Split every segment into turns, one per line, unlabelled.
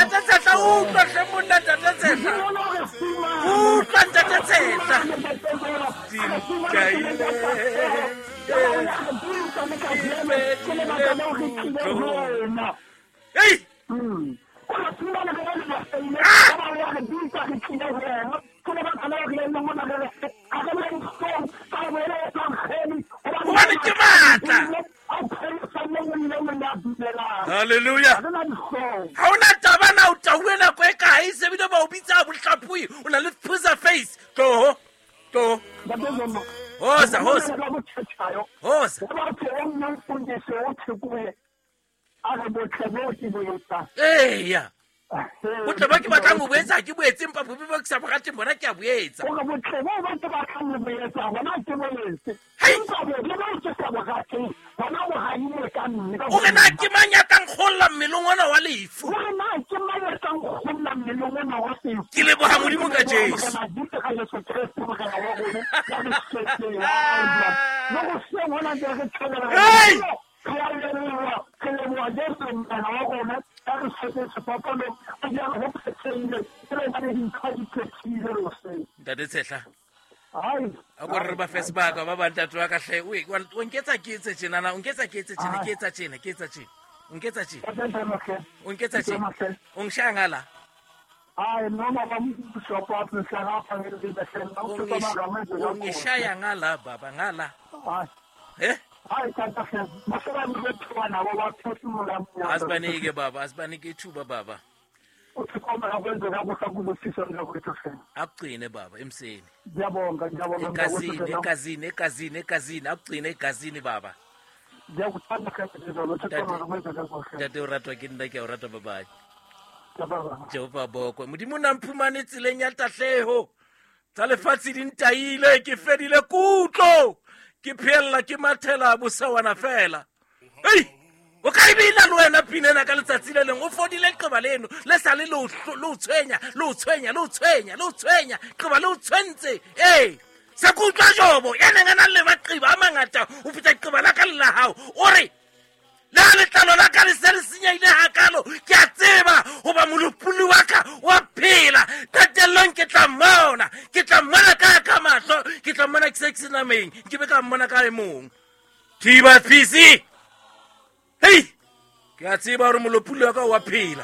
Ntate Tshehla, utlwa hle monna, Ntate Tshehla. Utlwa, Ntate Tshehla. Dintaile, Ei! Gobane ke maatla. Halleluja. Ga o na taba na o tauwe nako e kae, sebile ba o bitsa bohlapoi, o na le phusa face. Tloho, tloho. Hosa, hosa. Hosa. Eya, botle ba ke batlang ho bo etsa ha ke bo etse, empa bobe ba ke sa bo rateng bona ke a bo etsa.
Hore botle boo ba ke batlang ho bo etsa bona ke bo etse,
Hei!
empa bobe boo ke sa bo rateng bona bo rahilwe ka nna.
O re na ke mang ya tla nkgolla mmeleng ona wa lefu?
Hore na ke mang ya tla nkgolla mmeleng ona wa lefu?
Ke leboha Modimo ka Jesu.
Morena Jesu ka Jesu Kreste Morena wa rona ya re shwetseng. Le hoseng hona ntse re thabela.
Hei!
Re a leboha, re leboha Jesu Morena wa rona ya re shwetseng sefapanong, a di a re ho phethehile, e le hobane dintho di phethehile le hoseng.
Ntate Tshehla,
Hai,
a ko re ba fe sebaka ba bang, ntate wa ka hle. O nketsa ke etse tjenana, o nketsa ke etse tjena, ke etsa tjena, ke etsa tjena. O nketsa tjena, o nketsa tjena. O nshaya ngala.
Hayi, noma bambishop wathi ngihlangapha
O ngishaya ngala baba, ngala.
Hayi,
Eh?
hayi tata hle, bahlala bethuka nabo baphefumula.
Asibanike baba, asibanike ithuba baba.
Uthi khona kwenzeka kuhle kubusisa nje hle.
Akugcine baba emseni.
Ngiyabonga, ngiyabonga.
Egazini, egazini, egazini, egazini, akugcine egazini baba.
Ngiyakuthanda hle ngizolo, uthi khona kwenzeka kuhle.
Ntate o ratwa ke nna, ke a o rata babae.
Ngiyabonga.
Jehova bokwe. Modimo na mphumane tseleng ya tahleho. Tsa lefatshe di ntaile, ke fedile kutlo. Ke phella ke mathela bosawana fela. Ei! O ka e bina le wena pina ena ka letsatsi le leng, o fodile leqeba leno le sa le le o le o tshwenya, le o tshwenya, le o tshwenya, le o tshwenya, qeba le o tshwentse. Ee, se ke utlwa Jobo ya neng a nang le maqeba a mangata ho feta leqeba la ka le la hao. O re, le ha letlalo la ka le se le senyehile hakalo, ke a tseba hoba molopolli wa ka wa phela. Qetellong ke tla mmona, ke tla mmona ka ka mahlo, ke tla mmona ke se ke se nameng, ke be ka mmona ka e mong. Thiba fisi. Hei, ke a tseba hore molopolli wa ka wa phela.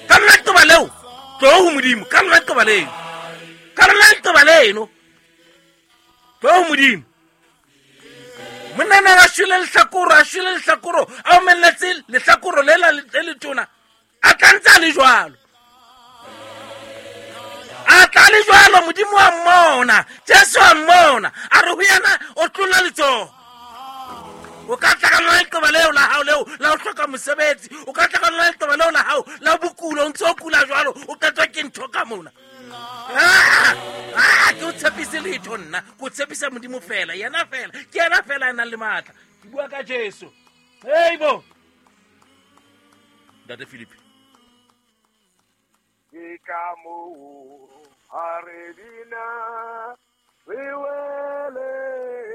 Ka lona leqeba leo, tloho ho Modimo, ka lona leqeba leo. Ka lona leqeba leno, tloho ho Modimo. Monna na a shwele lehlakoro, a shwele lehlakoro, a omelletse lehlakoro le la le letona, a tla ntse a le jwalo. A tla le jwalo, Modimo wa mmona, Jesu wa mmona, a re ho yena, o tlola letsoho. O ka tla ka lona leqeba leo la hao leo la ho hloka mosebetsi, o ka tla ka lona leqeba leo la hao la bokulo, o ntse o kula jwalo, o qetwa ke ntho ka mona. Ke o tshepise letho nna, ke o tshepisa Modimo fela, yena fela, ke yena fela a nang le matla. Ke bua ka Jesu. Hei bo. Ntate Philip.
Ke ka moo ha re bina re weletsa.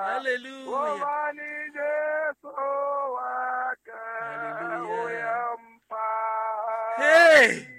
Hallelujah.
Hobane Jesu wa ka
Hallelujah.
o ya mpha.
Hey.